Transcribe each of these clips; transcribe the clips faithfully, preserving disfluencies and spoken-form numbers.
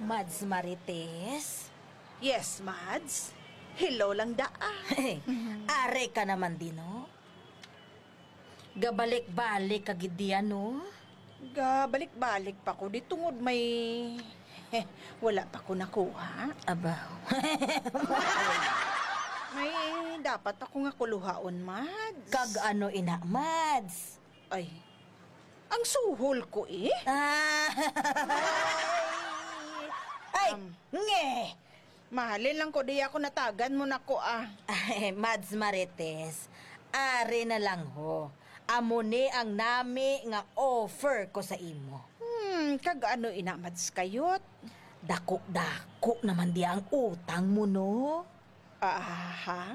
Mads Marites? Yes, Mads. Hello lang daa. Ari ka naman din, no? Gabalik-balik ka gid diyan, no? Gabalik-balik pa ko di tungod may wala pa ko nakuha. Aba. May dapat pa ko nga kuluhaon, Mads. Kag ano ina, Mads? Ay, ang suhol ko eh. Ah. Ay, Um, nge! Mahalin lang ko di ako natagan mo na ko ah. Ay, Mads Marites, ari na lang ho. Amo ni ang nami nga offer ko sa imo. Hmm, kag ano ina, Mads Kayot? Dako-dako naman di ang utang mo, no? Aha.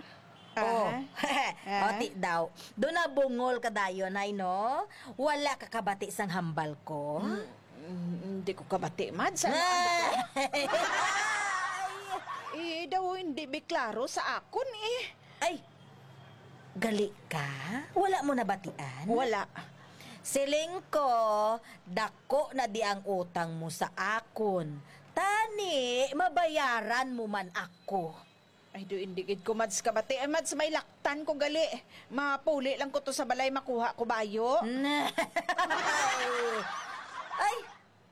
Oh. Aha. Ah? Oti daw. Do na bungol ka dayon, ay, no? Wala ka kabati sang hambal ko? Mm, mm, hindi ko kabati, Mads. Ano, ano ba? Ay! Eh, daw hindi bi klaro sa akon, eh. Ay! Gali ka? Wala mo nabatian? Wala. Siling ko, dako na di ang utang mo sa akon. Tani, mabayaran mo man ako. Ay, do, hindi gid ko, Mads, kabati. Ay, Mads, may laktan ko gali. Mapuli lang ko to sa balay, makuha ko bayo. Nay. Ay,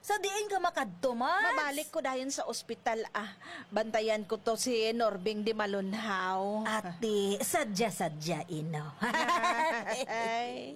sa diin ka makadto, Mads? Mabalik ko dayon sa ospital, ah. Bantayan ko to si Norbing di malunhaw. Ate, sadya-sadya, ino. Ay.